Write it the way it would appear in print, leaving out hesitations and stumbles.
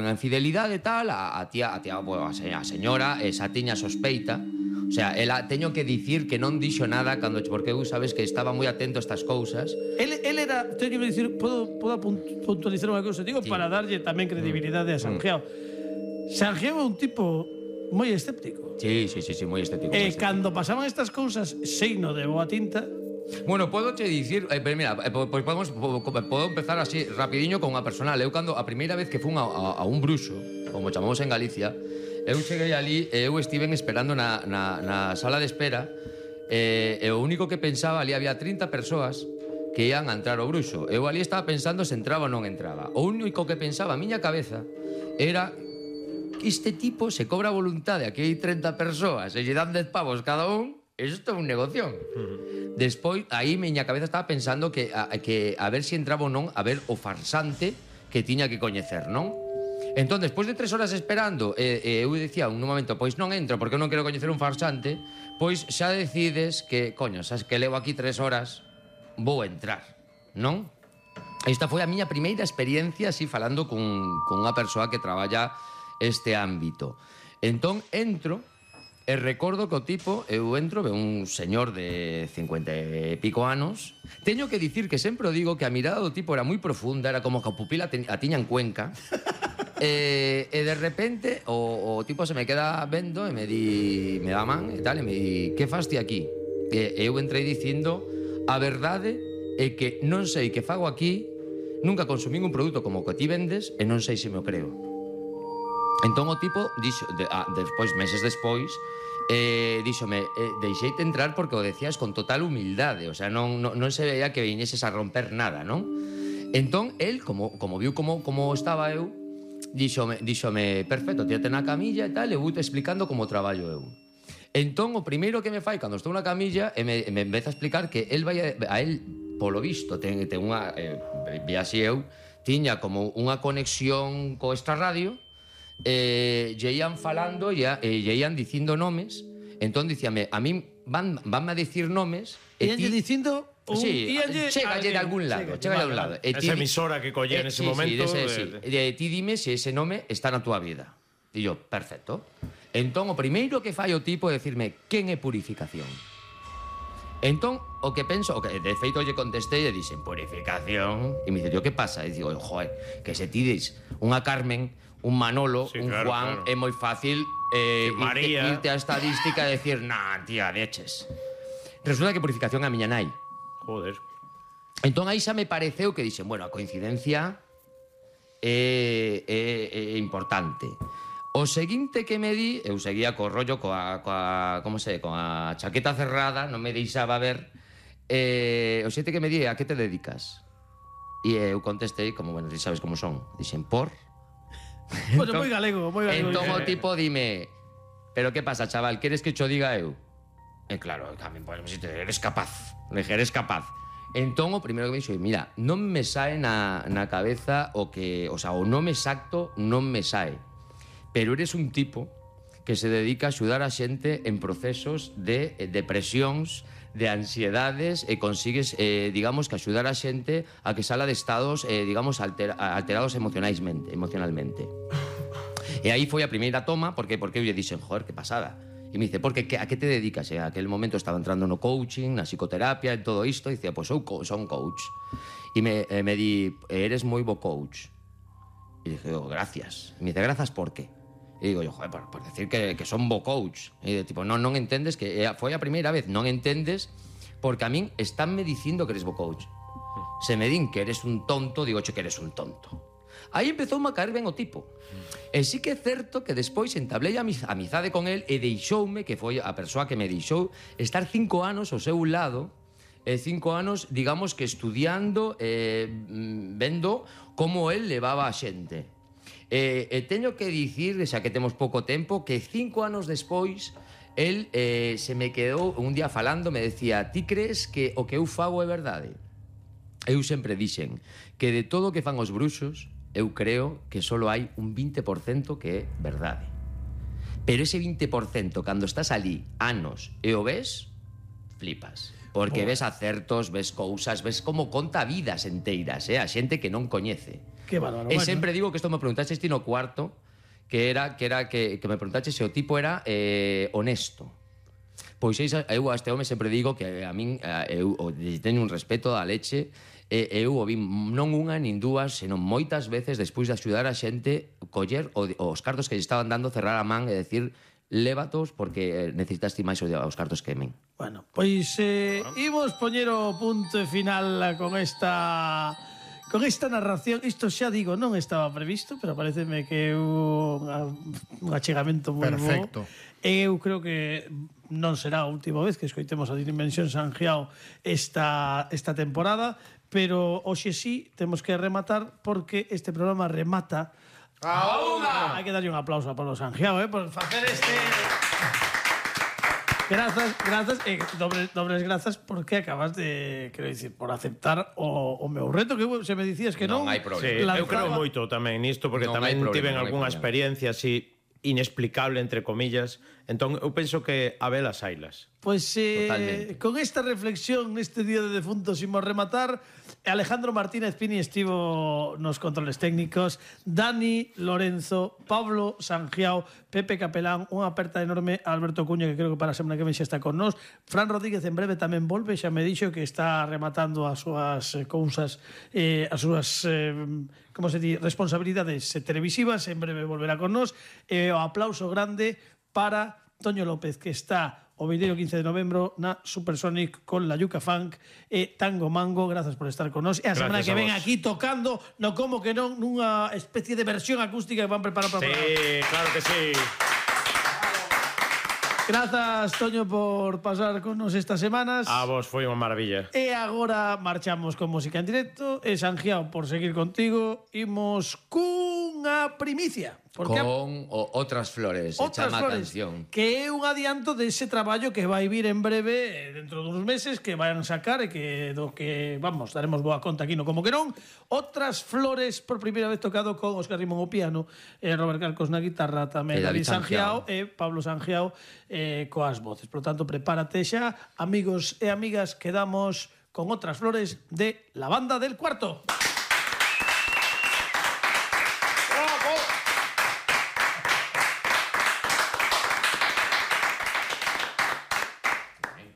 unha infidelidade e tal, a señora xa tiña sospeita. O sea, ela teño que dicir que non dixo nada cando, porque eu sabes que estaba moi atento a estas cousas. Él era, teño que dicir, podo puntualizar unha cousa, digo, para darlle tamén credibilidade a Sanjeo. Sanjeo é un tipo moi escéptico. Sí, moi estético. Cando pasaban estas cousas, seino de boa tinta. Bueno, podo che dicir, mira, pois podo empezar así rapidiño con unha personal. Eu cando a primeira vez que fun a un bruxo, como chamamos en Galicia, eu cheguei ali e eu estiven esperando na sala de espera e o único que pensaba, ali había 30 persoas que ian a entrar ao bruxo. Eu ali estaba pensando se entraba ou non entraba. O único que pensaba a miña cabeza era que este tipo se cobra a voluntade, aquí hai 30 persoas e lle dan 10 pavos cada un. Isto é un negoción. Despois, aí miña cabeza estaba pensando que a ver se entraba ou non, a ver o farsante que tiña que coñecer, non? Entón, despois de 3 horas esperando, eu dicía un momento, pois non entro porque eu non quero coñecer un farsante, pois xa decides que, coño, sabes que levo aquí 3 horas, vou entrar, non? Esta foi a miña primeira experiencia así falando con unha persoa que traballa este ámbito. Entón, entro. E recordo que o tipo, eu entro, ve un señor de 50 e pico anos. Teño que dicir que sempre o digo que a mirada do tipo era moi profunda, era como que a pupila a tiña en Cuenca. E de repente o tipo se me queda vendo e me dá man e tal, e me di, que fas ti aquí? E eu entrei dicindo, a verdade é que non sei que fago aquí, nunca consumín un produto como o que ti vendes e non sei se me o creo. Entón o tipo, despois, meses despois, díxome, deixeite entrar porque o decías con total humildade, o sea, non se veía que viñeses a romper nada, non? Entón, el, como viu como estaba eu, díxome, perfecto, tírate na camilla e tal, e vou te explicando como traballo eu. Entón, o primeiro que me fai cando estou na camilla, me empeza a explicar que el vai a él, polo visto, ten unha, vi así eu, tiña como unha conexión co extrarradio, lle ian falando e lle ian dicindo nomes. Entón dicíame, a min vanme a dicir nomes e lle dicindo chégalle de algún lado, chégalle de algún lado. Esa emisora que collé en ese momento. Ti dime se ese nome está na túa vida. E yo, perfecto. Entón o primeiro que fai o tipo é dicirme quen é Purificación. Entón, o que penso, de feito lle contestei e dixen, Purificación. E me dice, que pasa? E digo, joder, que se ti dis unha Carmen, un Manolo, un Juan, é moi fácil irte a estadística e decir, nah, tía, leches. Resulta que Purificación é a miña nai. Joder. Entón aí xa me pareceu que dixen, bueno, a coincidencia é importante. O seguinte que me di, eu seguía co rollo, coa chaqueta cerrada, non me deixaba ver. O seguinte que me di, a que te dedicas? E eu contestei, como, bueno, ti sabes como son. Dixen, por... Bueno, moi galego. Entón o tipo dime, pero que pasa, chaval, queres que cho diga eu? E claro, tamén podemos dicir, eres capaz. Eres capaz. Entón o primeiro que me dixo, mira, non me sae na cabeza o nome exacto non me sae. Pero eres un tipo que se dedica a axudar a xente en procesos de depresións, de ansiedades, e consigues, digamos, que axudar a xente a que sala de estados, digamos, alterados emocionalmente. E aí foi a primeira toma, porque eu lle dixen, joder, que pasada. E me dice, a que te dedicas? E a aquel momento estaba entrando no coaching, na psicoterapia, en todo isto, e dicía, pois eu son coach. E me di, eres moi bo coach. E dije, gracias. E me dice, grazas por qué? E digo, joder, por decir que son bo coach. E tipo, non entendes que foi a primeira vez, non entendes porque a min estánme dicindo que eres bo coach. Se me din que eres un tonto, digo, que eres un tonto. Aí empezou a caer ben o tipo. E sí que é certo que despois entablei a amizade con el e deixoume, que foi a persoa que me deixou, estar 5 anos ao seu lado, 5 anos, digamos, que estudiando, vendo como el levaba a xente. E teño que dicir, xa que temos pouco tempo, que 5 anos despois el se me quedou un día falando, me decía, ti crees que o que eu fago é verdade? Eu sempre dixen que de todo o que fan os bruxos, eu creo que só hai un 20% que é verdade. Pero ese 20%, cando estás ali anos e o ves, flipas. Porque ves acertos, ves cousas, ves como conta vidas enteiras, a xente que non coñece. Qué bárbaro. E sempre digo que isto me preguntaches ti no cuarto, que me preguntaches se o tipo era honesto. Pois eu a este home sempre digo que a min eu teño un respeto da leche, eu o vi non unha nin dúas, senón moitas veces despois de axudar a xente coller os cartos que lle estaban dando, cerrar a man e decir lévatos porque necesitas ti máis os cartos que min. Bueno, pois imos poñer o punto final con esta narración. Isto xa digo, non estaba previsto, pero pareceme que é un achegamento moi Perfecto. Eu creo que non será a última vez que escoitemos a Dimensión Sangiao esta temporada, pero hoxe sí temos que rematar porque este programa remata a unha. Hai que darlle un aplauso a Pablo Sangiao, por facer este... Grazas, dobles grazas porque acabas de, quero dicir, por aceptar o meu reto, que se me dicías que non. Non hai problema. Sí, eu creo moito tamén nisto, porque tamén tiven algunha experiencia así inexplicable, entre comillas. Entón, eu penso que a velas ailas. Pois con esta reflexión neste Día de Defuntos imos rematar. Alejandro Martínez Pini estivo nos controles técnicos, Dani Lorenzo, Pablo Sangiao, Pepe Capelán, unha aperta enorme a Alberto Cuña, que creo que para a semana que ven xa está con nós. Fran Rodríguez en breve tamén volve, xa me dixo que está rematando as súas cousas, as súas como se di, responsabilidades televisivas, en breve volverá con nós. O aplauso grande para Toño López, que está o 15 de novembro na Supersonic con la Yuca Funk e Tango Mango. Grazas por estar con nós. E a semana que ven aquí tocando, no como que non, nunha especie de versión acústica que van preparar para o programa. Sí, claro que sí. Grazas, Toño, por pasar con nos estas semanas. A vos foi unha maravilla. E agora marchamos con música en directo. E Sangiao, por seguir contigo, imos cunha primicia. Con Outras Flores, se chama a canción. Que é un adianto dese traballo que vai vir en breve, dentro duns meses, que vayan sacar e que do que, vamos, daremos boa conta aquí no Como que non. Outras Flores, por primeira vez tocado con Óscar Rimón ao piano, Robert Carcos na guitarra, tamén David Sangiao e Pablo Sangiao coas voces. Por lo tanto, prepárate xa, amigos e amigas, quedamos con Outras Flores de La Banda del Cuarto.